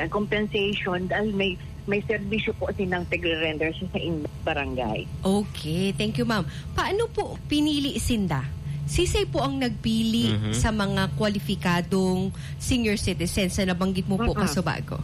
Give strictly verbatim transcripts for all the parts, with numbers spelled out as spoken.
compensation dahil may, may serbisyo po silang pagre-render sa, sa in-, barangay. Okay, thank you, ma'am. Paano po pinili sinda? Sisay po ang nagpili Mhm. sa mga kwalipikadong senior citizens na nabanggit mo po Mm-mm. kasubago?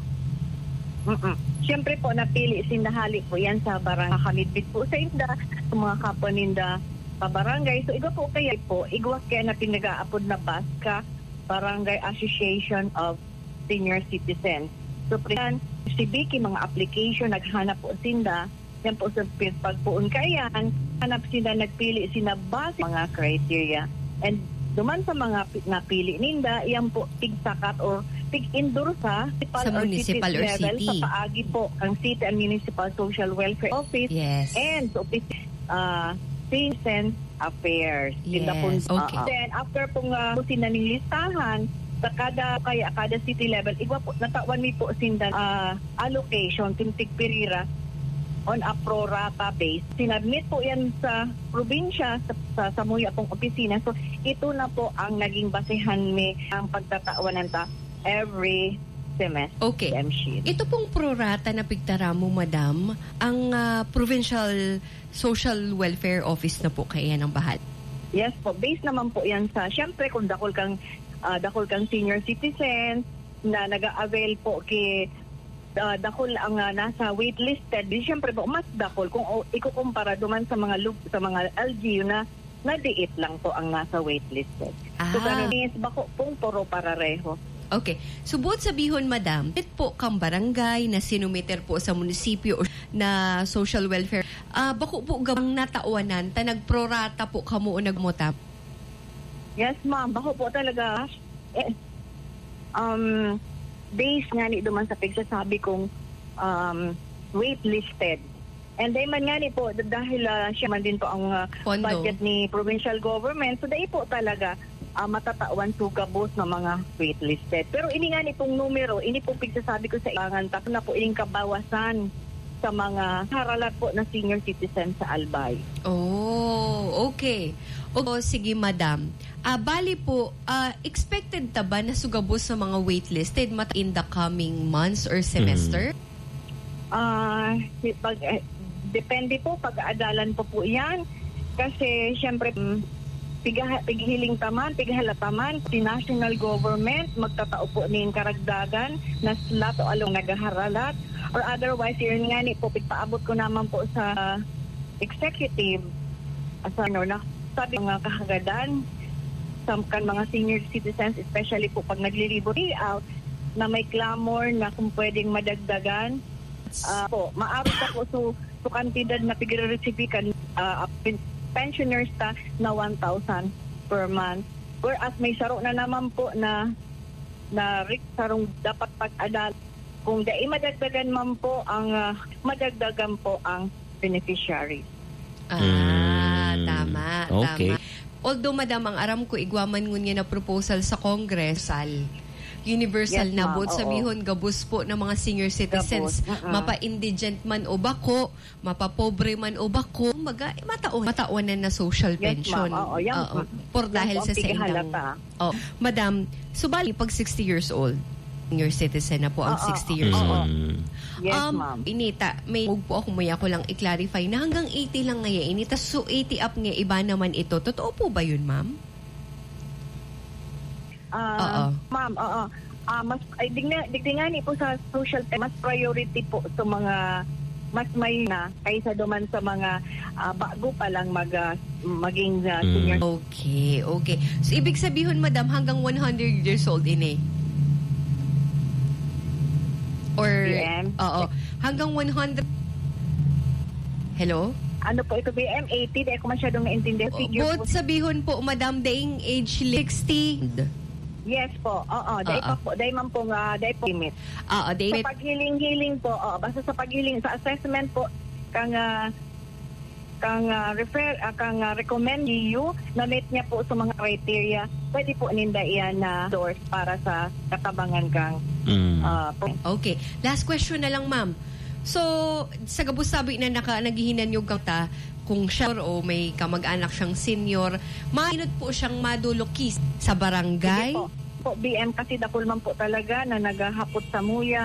Mm-mm. Siyempre po, napili sinda hali po yan sa barangay. Kamidbid po sa inda, sa mga kapwa ninda sa barangay. So, igwa po kaya po, igwa kaya na pinag-aapod na BASCA, Barangay Association of Senior Citizens. So, pre-, si Vicky, mga application, naghanap po sinda. Yan po sa pagpuon kaiyan, hanap sinda, nagpili sinda base mga criteria. And duman sa mga pi-, napili ninda, yan po tigsakat or tig-endorsa municipal Sa or city municipal or level, sa city. paagi po ang City and Municipal Social Welfare Office Yes. and sa Office, ah, Citizen Affairs. Sinda po, Yes, okay. ah, Then, after pong, ah, po sinaning listahan, sa kada, kaya kada city level, igwa po, natawan mi po sinda, ah, allocation, sintig pirira, on a pro rata base. Sinubmit po yan sa probinsya, sa, sa, samuya pong opisina. So, ito na po ang naging basehan mi ang pagtatawanan ta every semester, Okay. M C. Ito pong pro rata na pigtaramo, madam, ang, ah, Provincial Social Welfare Office na po kaya ng bahal? Yes po, based naman po yan sa, siyempre, kung dakul kang, ah, dakul kang senior citizen na nag-a-avail po ki, ah, dakul ang, ah, nasa waitlisted, di siyempre po, mas dakul kung o, ikukumpara duman sa mga lug-, sa mga L G U na nadiit lang po ang nasa waitlisted. So, Ah. ganun is bako pong puro parareho. Okay. So, buot sabihon, madam, it po kang barangay na sinumiter po sa munisipyo o na social welfare, ah, bako po gabang natawanan, ta nagprorata po kamo o nagmuta? Yes, ma'am. Bako po talaga. Eh, um, based nga ni duman sa pagsasabi kong, um, waitlisted. And then man nga ni po, d-, dahil, ah, siya man din po ang, ah, Pondo. budget ni provincial government, so dai po talaga, ah, matatawan so gabos na mga waitlisted. Pero ini nga ni pong numero, ini pong pigsasabi ko sa ibangan, tapos na po ining kabawasan sa mga haralat po na senior citizen sa Albay. Oh, okay. O, sige, madam. Ah, bali po, ah, expected ta ba na sugabos sa mga waitlisted mata in the coming months or semester? Mm. Ah, si-, pag, eh, depende po, pag-aadalan pa po yan. Kasi, siyempre, mm, pigaha-, pighiling ta man, pighala ta man, si national government, magtatao po nin karagdagan na slot o along naghaharalat. Or otherwise, yun nga ni po, pigpaabot ko naman po sa executive, sa ano, na sabi mga kahagadan sa kan mga senior citizens, especially po pag naglilibo day out, na may clamor na kung pwedeng madagdagan. Ah, po, maaro pa po so, so kantidad na pigre-receive kan, ah, pen-, pensioners ta na one thousand per month. Whereas may saro na naman po na, na ri-, sarong dapat pag-adal. Kung dai madagdagan man po ang, ah, madagdagan po ang beneficiaries. Ah, Mm. tama, Okay. tama. Although, madam, ang aram ko, igwa man ngunyan na proposal sa Congress, al-, universal Yes, na ma'am. buot Oo. sabihon, gabos po ng mga senior citizens, Gabos, mm-mm. mapa-indigent man o bako, mapapobre man o bako, maga-, mataon, mataonan na social Yes, pension. ma'am. Oo, yan, Oo. mm. Por Yan dahil po ang sa saindang pigahalata. Oh, madam, so bali, pag sixty years old, senior citizen na po ang Oo. sixty years Oo. old. Mm. Yes, Um, ma'am. Inita, may mug po ako, may ako lang i-clarify na hanggang eighty lang ngayon, inita, so eighty up nga iba naman ito. Totoo po ba yun, ma'am? Ah, Oo. ma'am, oo. Ah, mas, ay, digna-, digdi nga ni po sa social, mas priority po sa mga mas may na kaysa duman sa mga, ah, bago pa lang mag, ah, maging, ah, Mm. senior. Okay, okay. So, ibig sabihon, madam, hanggang one hundred years old ini? Or, B M? oo, hanggang one hundred. Hello? Ano po ito, B M? Eighty? Di ako masyadong naintindihan. Figure Buot po. sabihon po, madam, daing age sixty. Yes po. Oo, dai Oo. pa po, dai man po nga, dai po limit. Oo, dai Sa limit. paghiling-hiling po, oo, basta sa paghiling, sa assessment po, kang, ah, kang, ah, refer-, ah, kang, ah, recommend you, na-meet niya po sa mga criteria, pwede po ninda iyan na endorse para sa katabangan kang, Mm. ah, po. Okay. Last question na lang, ma'am. So, sa gabos sabi na naka-, naghihinanyog kang ta, kung siya o may kamag-anak siyang senior, mainot po siyang madulokis sa barangay? Sige po. Po, B M, kasi dakul man po talaga na naghahapot samuya.